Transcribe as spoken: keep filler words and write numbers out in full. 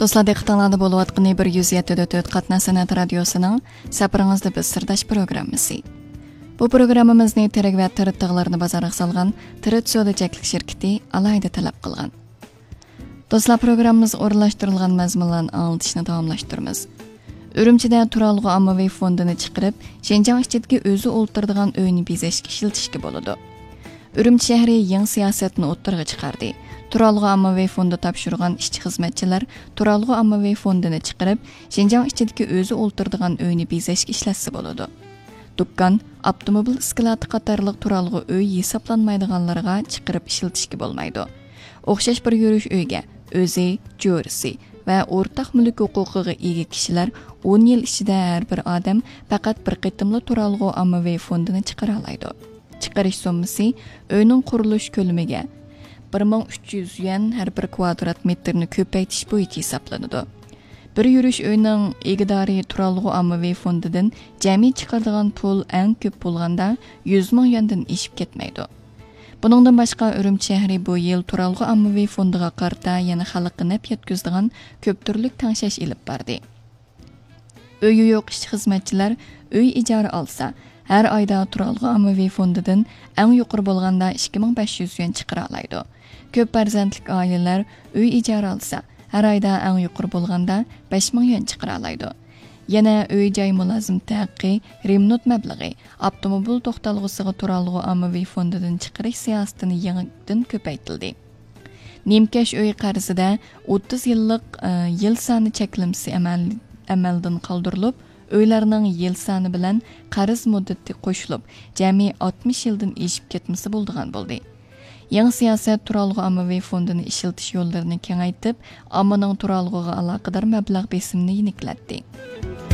دوستلار، دىققىتىڭلاردا بولۇۋاتقىنى بىر يۈز يەتتە دۆت تۆت قاتناش سەنئەت رادىيوسىنىڭ سەپىرىڭىزدە بىز سىرداش پروگراممىسى. بۇ پروگراممىمىزنى تىرىك ۋە تىرىت تىغلىرىنى بازارغا سالغان تىرىت سودا چەكلىك شىركىتى ئالاھىدە تەلەپ قىلغان. دوستلار، پروگراممىمىزغا ئورۇنلاشتۇرۇلغان مەزمۇنلارنى ئاڭلىتىشنى داۋاملاشتۇرىمىز. ئۈرۈمچىدە تۇرالغۇ ئاممىۋى فوندىنى چىقىرىپ، شىنجاڭ ئىچىدىكى ئۆزى ئولتۇرىدىغان ئۆينى بېزەشكە ئىشلىتىشكە بولىدۇ. ئۈرۈمچى شەھىرى يېڭى سىياسەتنى ئوتتۇرىغا چىقاردى. تۇرالغۇ ئاممىۋى فوندى تاپشۇرغان ئىشچى-خىزمەتچىلەر تۇرالغۇ ئاممىۋى فوندىنى چىقىرىپ، شىنجاڭ ئىچىدىكى ئۆزى ئولتۇرىدىغان ئۆينى بېزەشكە ئىشلەتسە بولىدۇ. دۇكان، ئاپتوموبىل ئىسكىلاتى قاتارلىق تۇرالغۇ ئۆي ھېسابلانمايدىغانلىرىغا چىقىرىپ ئىشلىتىشكە بولمايدۇ. ئوخشاش بىر يۈرۈش ئۆيگە ئۆزى، جۆرىسى ۋە ئورتاق مۈلۈك ھوقۇقىغا ئىگە كىشىلەر ئون يىل ئىچىدە ھەر بىر ئادەم پەقەت بىر قېتىملا تۇرالغۇ ئاممىۋى فوندىنى چىقىرالايدۇ. چىقىرىش سوممىسى ئۆينىڭ قۇرۇلۇش كۆلىمىگە بىر مىڭ ئۈچ يۈز يۈەن ھەر بىر كۋادرات مېتىرنى كۆپەيتىش بويىچە ھېسابلىنىدۇ. بىر يۈرۈش ئۆينىڭ ئىگىدارى تۇرالغۇ ئاممىۋى فوندىدىن جەمئىي چىقىرىدىغان پۇل ئەڭ كۆپ بولغاندا يۈز مىڭ يۈەندىن ئېشىپ كەتمەيدۇ. بۇنىڭدىن باشقا، ئۈرۈمچى شەھىرى بۇ يىل تۇرالغۇ ئاممىۋى فوندىغا قارىتا يەنە خەلققە نەپ يەتكۈزىدىغان كۆپتۈرلۈك تەڭشەش ئېلىپ باردى. ئۆيى يوق ئىشچى-خىزمەتچىلەر ئۆي ئىجارە ئالسا، ھەر ئايدا تۇرالغۇ ئاممىۋى فوندىدىن ئەڭ يۇقىرى بولغاندا ئىككى مىڭ بەش يۈز يۈەن چىقىرالايدۇ. كۆپ پەرزەنتلىك ئائىلىلەر ئۆي ئىجارە ئالسا، ھەر ئايدا ئەڭ يۇقىرى بولغاندا بەش مىڭ يۈەن چىقىرالايدۇ. يەنە ئۆي-جاي مۇلازىمىتى ھەققى، رېمونت مەبلىغى، ئاپتوموبىل توختالغۇسىغا تۇرالغۇ ئاممىۋى فوندىدىن چىقىرىش سىياسىتىنى يېڭىدىن كۆپەيتىلدى. نىمكەش ئۆي قەرزىدە ئوتتۇز يىللىق، ئى، يىل سانى چەكلىمىسى ئەمەل-، ئەمەلدىن قالدۇرۇلۇپ، ئۆيلەرنىڭ يىل سانى بىلەن قەرز مۇددىتى قوشۇلۇپ، جەمئىي ئاتمىش يىلدىن ئېشىپ كەتمىسە بولىدىغان بولدى. يېڭى سىياسەت تۇرالغۇ ئاممىۋى فوندىنى ئىشلىتىش يوللىرىنى كېڭەيتىپ، ئاممىنىڭ تۇرالغۇغا ئالاقىدار مەبلەغ بېسىمىنى يېنىكلەتتى.